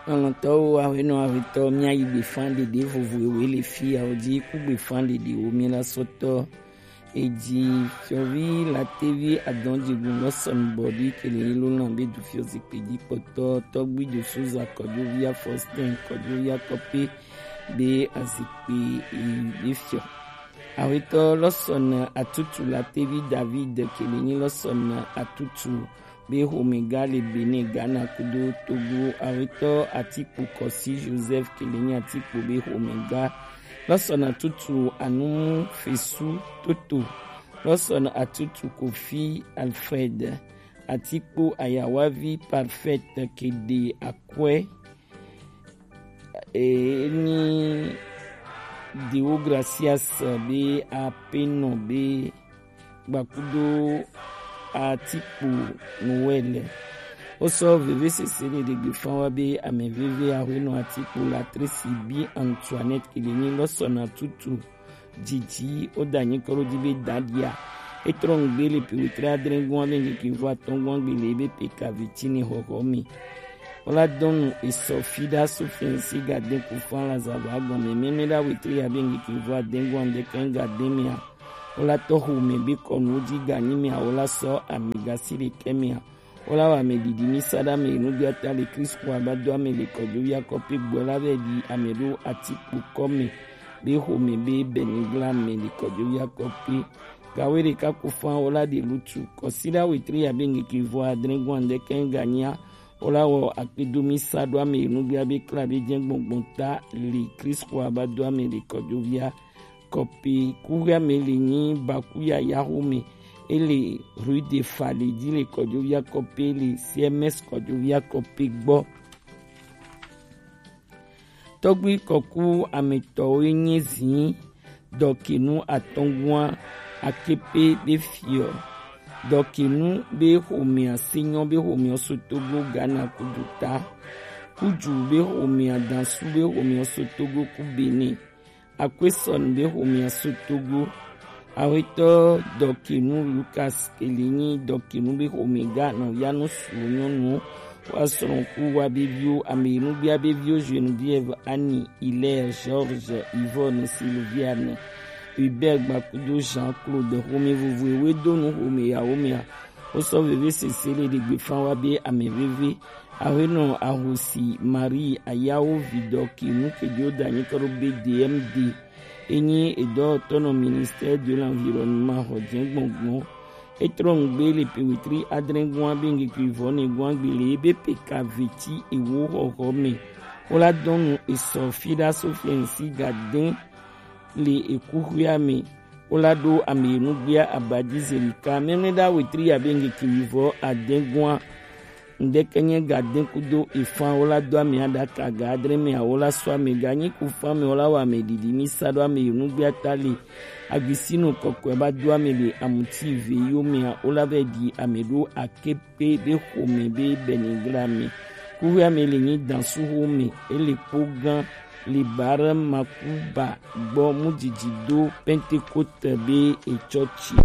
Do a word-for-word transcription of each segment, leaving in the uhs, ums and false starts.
Lɔlɔ̃tɔwo, aƒenɔ, aƒetɔ, míayi gbefã ɖeɖe vovo ewe le fi yawo dzi. Ku gbefã ɖeɖewo míela sɔtɔ. Eji fiɔvi Latevi Adɔn Jigun Lɔsɔn Bɔdi Keleyi Lolan be du fiɔ zikpui dzi kpɔtɔ, tɔgbi Josuza Kɔdzovi Afɔstin Kɔdzovi Akɔpe be azikpui be fiɔ. Awetɔ Lɔsɔn Atutu Latevi David Keleyi Lɔsɔn Atutu be xomɛga le Benin, Ghana kudo Togo. Awetɔ Atikpo Kɔsi Joseph Keleyi Atikpo be xomɛga. Lɔsɔn Atutu Anumu Fesu Toto. Lɔsɔn Atutu Kofi Alfred. Atikpo Ayawavi Parfait Kede Akwɛ. Enyi Deogracias be apenɔ be gbakudo Atikpo Noël. Wosɔ vevesese ɖeɖegbe fã wa be ame veve Aƒenɔ Atikpo Latresi bi Antoinette Keleyi Lɔsɔn Atutu Didi, woda anyi kɔ ɖo di be dadia. Etrɔ ŋgbe le pe wetri adre gɔn abe ŋkeke vɔ atɔn gɔn gbe le ebe pe kavitini xɔxɔ me. Wola dɔnu esɔ fi ɖa so fiɛnsi ga de ku fan la zava gɔme mɛmɛ ɖa wetri abe ŋkeke vɔ ade gɔn de kɛn ga de mea. Wola tɔ xo me be kɔnu di ga nyi mea, wola sɔ ami ga si ɖe kɛ mea. Wola wa ame didi mi sa ɖa me nu gbia ta le Kristo aba do ame le kɔjo ya kɔpe gbɔ la vɛ di ame ɖo Atikpo kɔ me. Be xomɛ be Bɛnigla mɛ le kɔjo ya kɔpe. Gawe ɖeka ku fan wola ɖe lutu. Kɔsiɖa wetri ya be ŋkeke vɔ adre gɔn de kɛn ga nyia. Wola wɔ akpedo mi sa ɖo ame nu gbia be kla be jɛ gbɔngbɔn ta le Kristo aba do ame le kɔjo ya kɔpe. Kuxia me le nyi baku ya yaxo me. Ele rue de Fale di le kɔjo ya kɔpe le C M S kɔjo ya kɔpe gbɔ. Tɔgbi kɔku ametɔwo nye zi dɔkinu atɔngua akepe be fiɔ. Dɔkinu be xomea senyɔ be xomea so Togo Ghana kudu ta. Kuju be xomea dansu be xomea so Togo ku Benin. Akwesɔn be xomea so Togo. Awetɔ dɔkinu Lucas Kelinyi dɔkinu be xomega nɔvianu suwo nyɔnuwo. Wa srɔ̃ ku wa be viwo ame yi nugbia be viwo Geneviève, Annie, Hilaire, Georges, Yvonne, Sylviane, Hubert gbakudo Jean-Claude xome vovo ewe do nu xome yawo mea. Wosɔ veve sese le ɖegbe fan wa be ame veve. Awenɔ ahosi Marie ayawo vidɔ ki nu kejo da nyi kɔ ɖo be D M D. Enyi edɔwɔtɔ nɔ Ministère de l'Environnement xɔ jɛ gbɔngbɔn. Etrɔ ŋgbe le pe wetri adre gua be ŋkeke vɔ ne gua gbe le ebe pe ka veti ewo xɔxɔ me. Wola dɔnu esɔ fi ɖa so fiɛnsi ga dɛn le ekuxuia me. Wola ɖo ame nugbia abadi zelika mɛmɛ ɖa wetri abe ŋkeke wivɔ adɛn gua. Ŋdɛkɛ nye ga dɛn kudo efan wola do ame aɖaka ga adre me awola sɔ ame ga nyi ku fan me wola wɔ ame ɖiɖi mi sa ɖo ame nugbia ta le. Agbisinu kɔkɔe ba do ame le amuti ve yo mea wola vɛ ɖi ame ɖo ake pe be xome be Bɛnigla me. Kuxuia me le nyi dansu xome ele kpo gã le bare makuba gbɔ mu didi do Pentecote be etsɔtsi.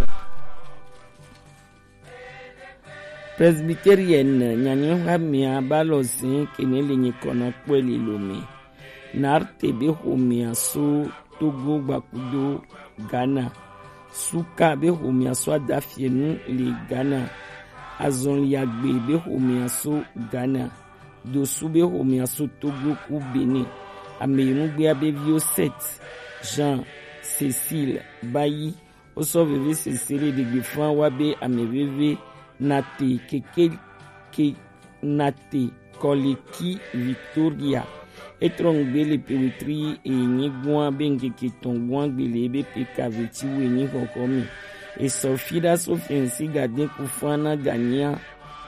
Presbyterienne nyanyɔxamea ba lɔ zin kene le nyi kɔna kpɔe le lo me. Narte be xomea so Togo gbakudo Ghana. Suka be xomea so adafienu le Ghana. Azɔliagbe be xomea so Ghana. Dosu be xomea so Togo ku Benin. Ame yi nugbea be viwo Seth, Jean, Cécile, Bayi. Wosɔ veve sese le ɖegbe fan wa be ame veve Nate keke ke Nate Kɔleki Victoria. Etrɔ ŋgbe le pe wetri enyi gua be ŋkeke tɔn gua gbe le ebe pe ka veti wo enyi xɔxɔ me. Esɔ fi ɖa so fiɛnsi ga de ku fan na ga nyia.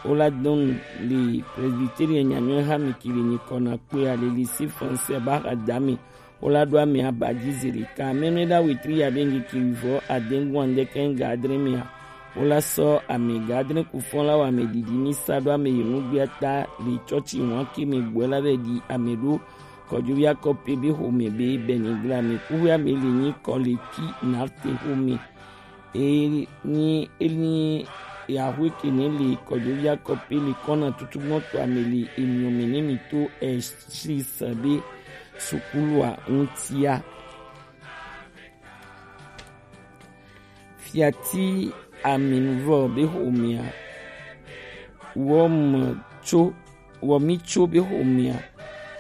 Wola dɔn le Presbyterienne nyanyɔe ha me ki le nyi kɔna kpe ale lycée français ba xa da me. Wola ɖo ame abadi zelika mɛmɛ ɖa wetri abe ŋkeke wivɔ adɛn gua ŋdɛkɛ ga adre mea. Wola sɔ ame ga adre ku fɔn la wɔ ame ɖiɖi mi sa ɖo ame yi nugbia ta le tsɔtsi wan ke me gbɔe la vɛ ɖi ame ɖo kɔdzovi akɔpe be xome be Bɛnigla me kuxuia me le nyi Kɔleki Narte xome. Enyi enyi Yahweh ke ne le kɔdovi akɔpe le kɔna tutugbɔtɔ ame le emiɔ me ne mi to Eshish be sukulua ŋutia. Fiati Aminuvɔ be xomea, wɔme tso wɔmi tso be xomea,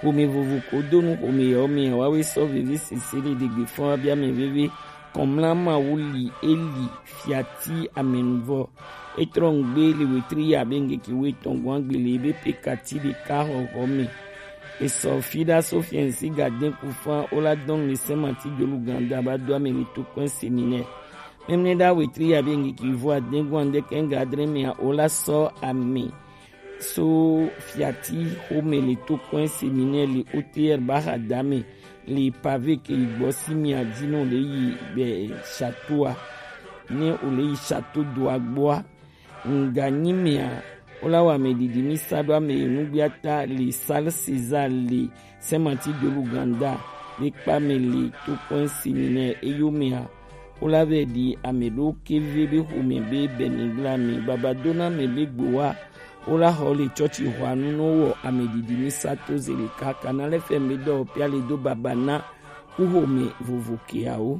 xome vovo ko do nu xome yawo mea, woawoe sɔ veve sese le ɖegbe fɔn abia mɛ veve. Kɔmla Mawu li eli Fiati Aminuvɔ. Etrɔ ŋgbe le wetri ya be ŋgeke wo etɔn gbɔn agbe le ebe pekati ɖeka xɔxɔ me. Esɔ fi ɖa so fiɛnsi gadɛn ku fan o la dɔn le sɛmati jolu ganda ba do ame le to kɔn seminɛ. Mɛmnɛ ɖa wetri ya be ŋgeke vo adɛn gbɔn ande kɛn gadrɛ mea o la sɔ ame so Fiati xome le to kɔn seminɛ le O T R ba xa dame le pave ke yi gbɔ si mia dzi no le yi be château a. Ne o le yi château do agbɔa. Ŋganyi mea, wo la wɔ ame ɖiɖi mi sa ɖo ame yi nugbiata le Salle César le Saint Martin de l'Ouganda be kpa me le to kɔn seminɛ eyo mea, wo la vɛ ɖi ame ɖo ke ve be xome be bɛnigla me baba do na me be gbowa. Wo la xɔ le tsɔtsi xɔanu no wɔ ame ɖiɖi mi sa to ze ɖeka kana lɛ fɛ me dɔ pia le do baba na ku xome vovo keawo.